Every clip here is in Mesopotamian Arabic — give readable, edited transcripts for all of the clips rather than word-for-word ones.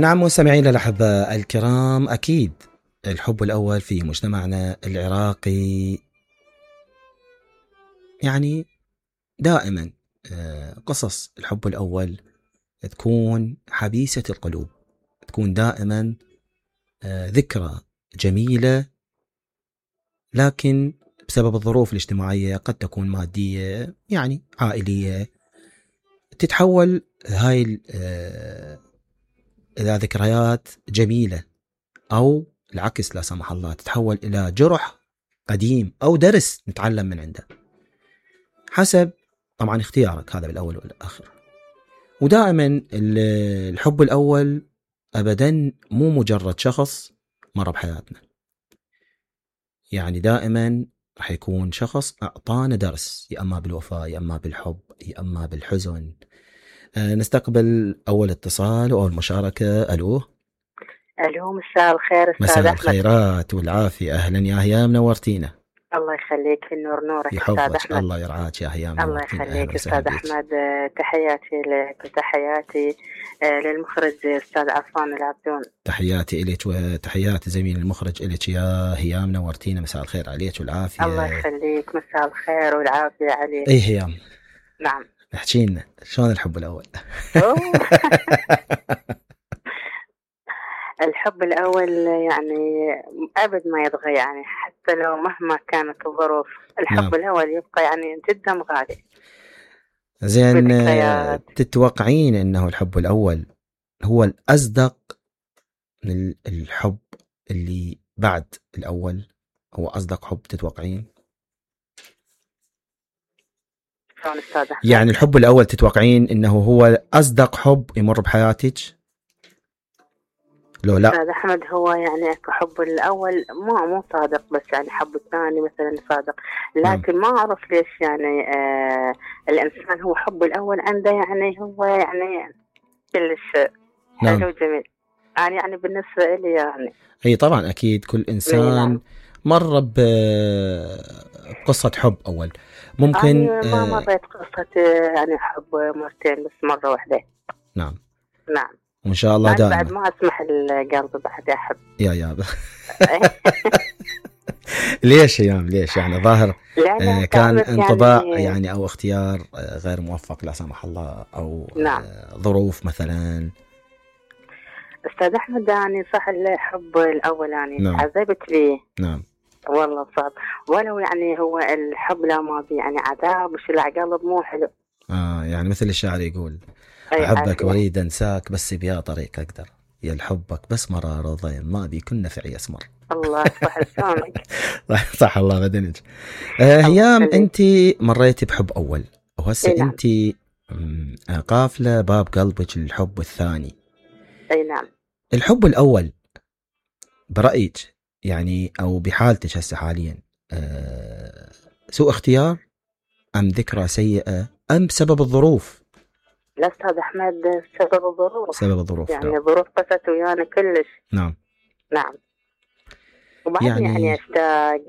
نعم مستمعينا الأحباء الكرام، أكيد الحب الأول في مجتمعنا العراقي يعني دائما قصص الحب الأول تكون حبيسة القلوب، تكون دائما ذكرى جميلة، لكن بسبب الظروف الاجتماعية قد تكون مادية يعني عائلية، تتحول هاي إلى ذكريات جميلة أو العكس لا سمح الله تتحول إلى جرح قديم أو درس نتعلم من عنده، حسب طبعا اختيارك هذا بالأول والآخر. ودائما الحب الأول أبدا مو مجرد شخص مر بحياتنا، يعني دائما راح يكون شخص أعطانا درس، يا أما بالوفاء يا أما بالحب يا أما بالحزن. نستقبل أول اتصال وأول مشاركة. ألو مساء الخير أستاذ مساء أحمد. الخيرات والعافية، أهلا يا هيام، نورتينا. الله يخليك، في النور نورك أستاذ يحفظك، أحمد. الله يرعاك يا هيام، الله نورتينا. يخليك أستاذ أحمد، تحياتي لك وتحياتي للمخرج أستاذ عفان العبدون. تحياتي إليك وتحياتي زميل المخرج إليك يا هيام، نورتينا. مساء الخير عليك والعافية. الله يخليك، مساء الخير والعافية عليك. أي هيام، نعم احكي لنا شلون الحب الأول؟ الحب الأول يعني أبد ما يتغير، يعني حتى لو مهما كانت الظروف الحب نعم. الأول يبقى يعني جدا غالي. زين، تتوقعين أنه الحب الأول هو الأصدق من الحب اللي بعد الأول؟ هو أصدق حب تتوقعين؟ يعني الحب الأول تتوقعين أنه هو أصدق حب يمر بحياتك؟ لو لا أستاذ أحمد، هو يعني حب الأول مو صادق، بس يعني حب الثاني مثلا صادق، لكن ما أعرف ليش يعني الإنسان هو حب الأول عنده يعني هو يعني كلش حلو جميل. يعني بالنسبة لي يعني أي طبعا أكيد كل إنسان مر بقصة حب أول. ممكن ما مريت قصة يعني حب مرتين، بس مرة واحدة. نعم نعم، وإن شاء الله دائما. بعد ما أسمح القلب بعد أحب. يا ليش يام ليش يعني ظاهر كان انطباع يعني أو اختيار غير موفق لا سمح الله، أو نعم. ظروف مثلا. أستاذ أحمد، يعني صح الحب الأول يعني نعم. عذبت لي. نعم والله صعب، ولو يعني هو الحب لا ماضي يعني عذاب وش العقلب مو حلو. يعني مثل الشاعر يقول أحبك وريد أنساك بس بيا طريق أقدر، يا الحبك بس مرار وضيم ما بي كنا في أسمر. الله صح لسانك. صح الله بدنك. هيام، أنت مريتي بحب أول وهسه نعم. أنت قافلة باب قلبك للحب الثاني. أي نعم. الحب الأول برأيك يعني أو بحالتك هسه حاليا سوء اختيار أم ذكرى سيئة أم بسبب الظروف؟ لا أستاذ أحمد، سبب الظروف. سبب الظروف يعني الظروف قست ويانا كلش. نعم. نعم. وبعد يعني أشتاق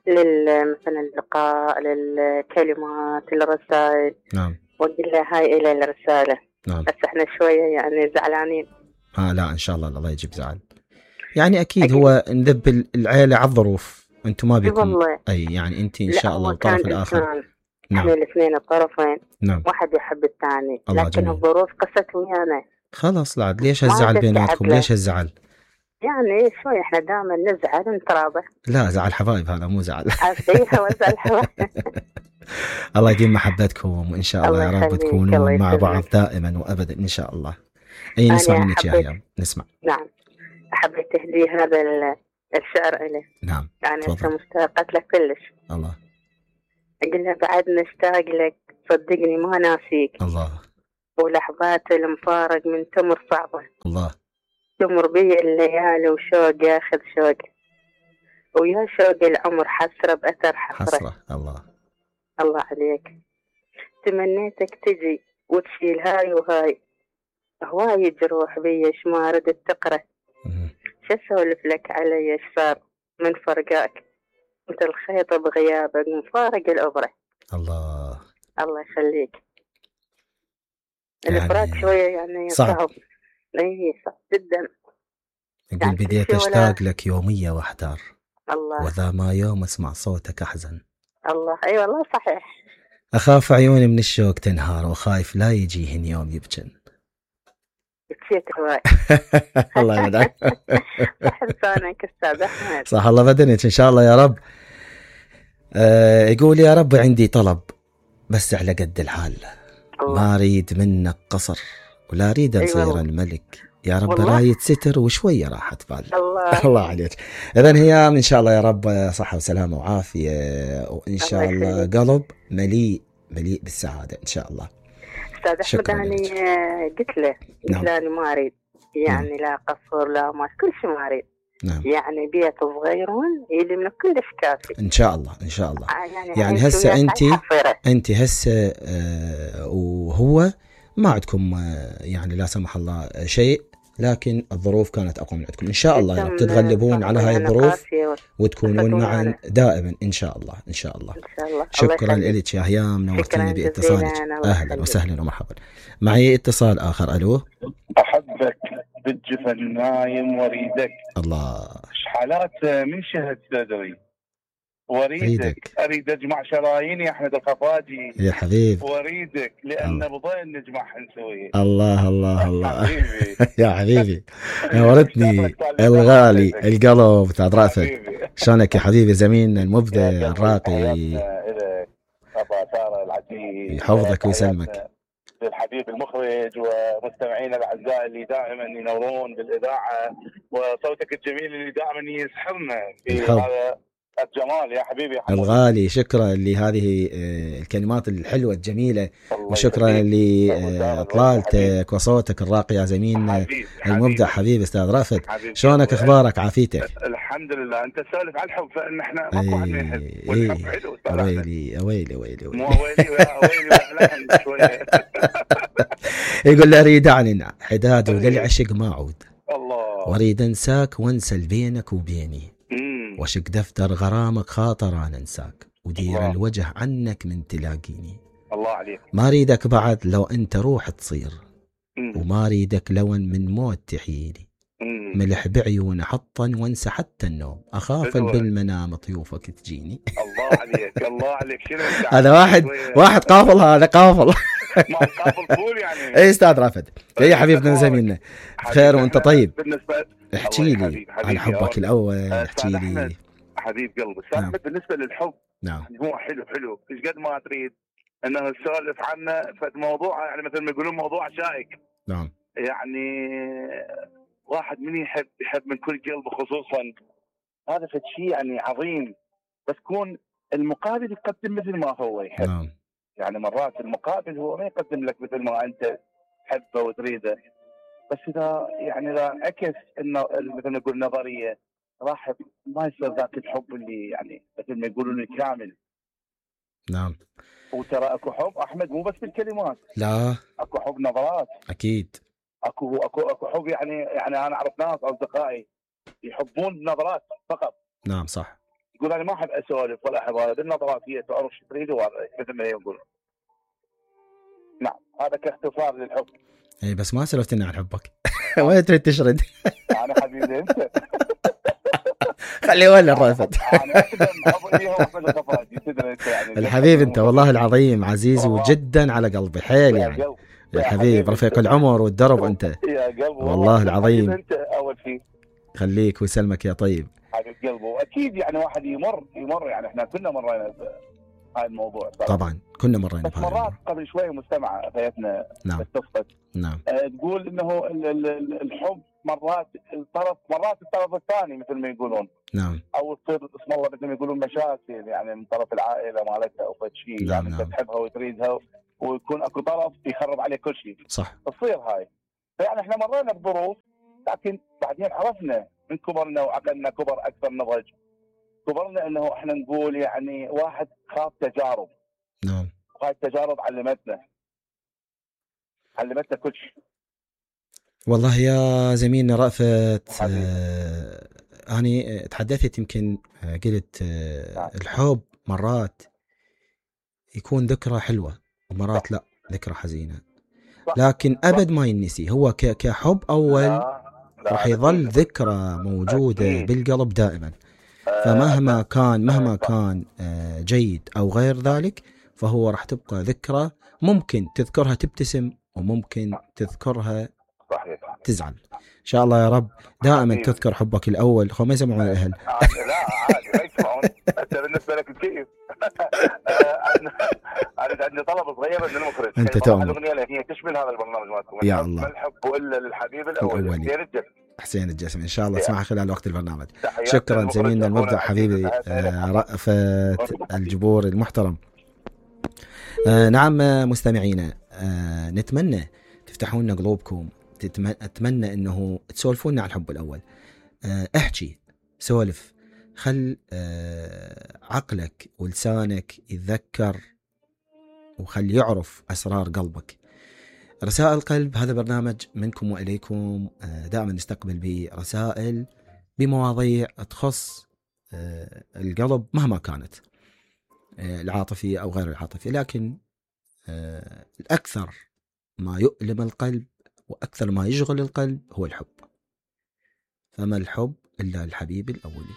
مثلا اللقاء، للكلمات، للرسائل. نعم. وأقول له هاي إلى الرسالة. نعم. بس إحنا شوية يعني زعلانين. لا إن شاء الله الله يجيب زعل. يعني أكيد هو نذب العيلة على الظروف، أنتم ما بيكم والله. أي يعني أنت إن شاء الله الطرف الآخر. نعم. الاثنين الطرفين. نعم. واحد يحب الثاني، لكن جميل. الظروف قست ويانا. خلاص لا ليش هالزعل بيناتكم؟ ليش هالزعل؟ يعني شوي احنا دائما نزعل ونتراضى. لا زعل حبايب، هذا مو زعل. هو زعل حبايب. الله يديم محبتكم وإن شاء الله يا رب تكونوا مع بعض دائما وأبدا إن شاء الله. أي نسمع منك يا هيام، نسمع. نعم، حبيت تهدي هذا الشعر إليه. نعم يعني مشتاقة لك كلش. الله. أقول له بعد نشتاق لك، صدقني ما ناسيك. الله. ولحظات المفارق من تمر صعبة. الله. تمر بي الليالي وشوق ياخذ شوق، ويا شوق العمر حسرة بأثر حسرة. الله. الله عليك. تمنيتك تجي وتشيل هاي وهاي، هواي جروح بي ما ردت تقرأ. شو اسولف لك علي ايش صار من فرقاك، انت الخيط بغيابك مفارق الأبرة. الله. الله يخليك. الفراق شوية يعني صعب. اي صح جدا. يقول يعني كل بديت شيء ولا اشتاق لك يومية واحتار، الله. وذا ما يوم اسمع صوتك احزن. الله اي والله صحيح. اخاف عيوني من الشوق تنهار، وخايف لا يجيهن يوم يبجن. بكيت هواي. الله يمدعك. صح لسانك استاذ احمد. صح الله بدنك ان شاء الله يا رب. يقول يا رب عندي طلب بس على قد الحال، الله. ما اريد منك قصر ولا اريد اصير والله. الملك، يا رب والله. راية ستر وشوية راحة بال. الله. الله عليك. اذا هي ان شاء الله يا رب صحة وسلامة وعافية، وان شاء الله الله يخليك. قلب مليء بالسعادة ان شاء الله. استاذ احمد شكراً انا لك. قلت له نعم. انا ما اريد يعني لا قصر لا ما كل شيء ما اريد. نعم يعني بيت صغيرون يلي من كلش كافي ان شاء الله ان شاء الله. يعني عايش هسه وياك انت على حفيرة. انت هسه وهو ما عندكم يعني لا سمح الله شيء، لكن الظروف كانت اقوى من عندكم. ان شاء الله يا رب تتغلبون على هاي الظروف وتكونون معا دائما ان شاء الله ان شاء الله. ان شاء الله. شكرا لك يا هيام، نورتيني باتصالك. اهلا وسهلا ومرحبا. معي اتصال اخر. الو. احبك بالجفن نايم وريدك. الله. حالات من شهد صدري وريدك. اريد اجمع شراييني يا احمد الخفاجي يا حبيب. وريدك لان بضين نجمع نسوي. الله الله الله. حبيبي. يا حبيبي نورتني الغالي القلب تاع رأفت. شلونك يا حبيبي زميلنا المبدع الراقي. ابا ساره العزيز يحفظك ويسلمك. للحبيب المخرج ومستمعينا الاعزاء اللي دائما ينورون بالاذاعه، وصوتك الجميل اللي دائما يسحرنا في هذا الجمال يا حبيبي يا حبيبي. الغالي. شكرا لهذه الكلمات الحلوه الجميله، وشكرا لاطلالتك وصوتك الراقي يا زميلنا المبدع حبيبي استاذ رأفت. شلونك اخبارك عافيتك؟ الحمد لله. انت تسولف على الحب فان احنا ماكو واحد ما يحب والحب حلو. ويلي مو ويلي شويه. يقول له اريد اعلن حداد وللعشق ما اعود، الله. واريد انساك وانسى بينك وبيني، وشق دفتر غرامك خاطر انا انساك، ودير الله. الوجه عنك من تلاقيني. الله عليك. ما اريدك بعد لو انت روح تصير، وما اريدك لون من موت تحييني، ملح بعيون حطا وانسى حتى النوم، اخاف بالمنام طيوفك تجيني. الله عليك الله عليك. شنو هذا واحد قافل، هذا قافل. ما قافل طول يعني. اي استاذ رافد. يا حبيبنا زميلنا بخير وانت طيب. احكي لي عن حبك الاول. احكي لي حبيب قلبي. نعم. بالنسبه للحب نعم هو حلو ايش قد ما تريد انه نسولف عنه فالموضوع يعني مثل ما يقولون موضوع شائك. نعم. يعني واحد من يحب من كل قلبه، خصوصا هذا شيء يعني عظيم، بس كون المقابل يقدم مثل ما هو يحب. نعم. يعني مرات المقابل هو ما يقدم لك مثل ما انت تحبه وتريده، بس اذا عكس انه مثل ما نقول نظريه راح ما يصير ذاك الحب اللي يعني مثل ما يقولون الكامل. نعم. وترى اكو حب احمد مو بس بالكلمات، لا اكو حب نظرات. اكيد. اكو حب يعني انا اعرف ناس اصدقائي يحبون بنظرات فقط. نعم صح. يقول انا ما احب اسولف ولا احب هذا، بالنظرات هي تعرف شو تريد مثل ما يقولون. نعم هذا كاختصار للحب. اي بس ما سولفتنا عن حبك. وين تريد تشرد؟ انا حبيبي انت. خلي ولا الرافد. يعني الحبيب انت والله العظيم عزيز وجدا على قلبي حيل يعني. يا حبيب رفيق العمر والدرب انت. يا قلبي والله العظيم. انت اول شيء خليك ويسلمك يا طيب. حبيب قلبه. واكيد يعني واحد يمر يعني احنا كلنا مرينا هاي الموضوع صراحة. طبعا كنا مرينا بس مرات قبل شوي مستمعة فيتنا نعم اتصلت. نعم. تقول انه الحب مرات الطرف الثاني مثل ما يقولون. نعم. او تصير اسم الله مثل ما يقولون مشاكل يعني من طرف العائله مالتها او شيء. نعم. يعني انت تحبها وتريدها ويكون اكو طرف يخرب عليك كل شيء. صح. تصير هاي. فيعني احنا مرينا بظروف، لكن بعدين عرفنا من كبرنا وعقلنا كبر اكثر نضج. كبرنا انه احنا نقول يعني واحد خاف تجارب. نعم. وهاي التجارب علمتنا كل شيء. والله يا زميلنا رأفت أنا تحدثت يمكن قلت الحب مرات يكون ذكرى حلوة ومرات لا ذكرى حزينة. لكن أبد ما ينسي، هو كحب أول لا راح يظل ذكرى موجودة بالقلب دائما. فمهما كان جيد أو غير ذلك، فهو راح تبقى ذكرى، ممكن تذكرها تبتسم وممكن تذكرها تزعل. إن شاء الله يا رب دائما تذكر حبك الأول. ما يسمعون الأهل. لا عادي ما يسمعون. أنت بالنسبة لك كيف؟ عندي طلب صغير من المخرج. أنت تؤمن الأغنية هي تشمل هذا البرنامج مالكم. يا الله. ما الحب إلا للحبيب الأول. حسين الجسمي. إن شاء الله تسمعها خلال وقت البرنامج. شكرا زميلنا المبدع حبيبي رأفت الجبور المحترم. نعم مستمعينا، نتمنى تفتحوا لنا قلوبكم، أتمنى أنه تسولفونا عن الحب الأول. احكي، سولف، خل عقلك ولسانك يتذكر وخل يعرف أسرار قلبك. رسائل قلب هذا برنامج منكم وإليكم، دائما نستقبل برسائل بمواضيع تخص القلب مهما كانت، العاطفية أو غير العاطفية، لكن الأكثر ما يؤلم القلب وأكثر ما يشغل القلب هو الحب. فما الحب إلا الحبيب الأولي.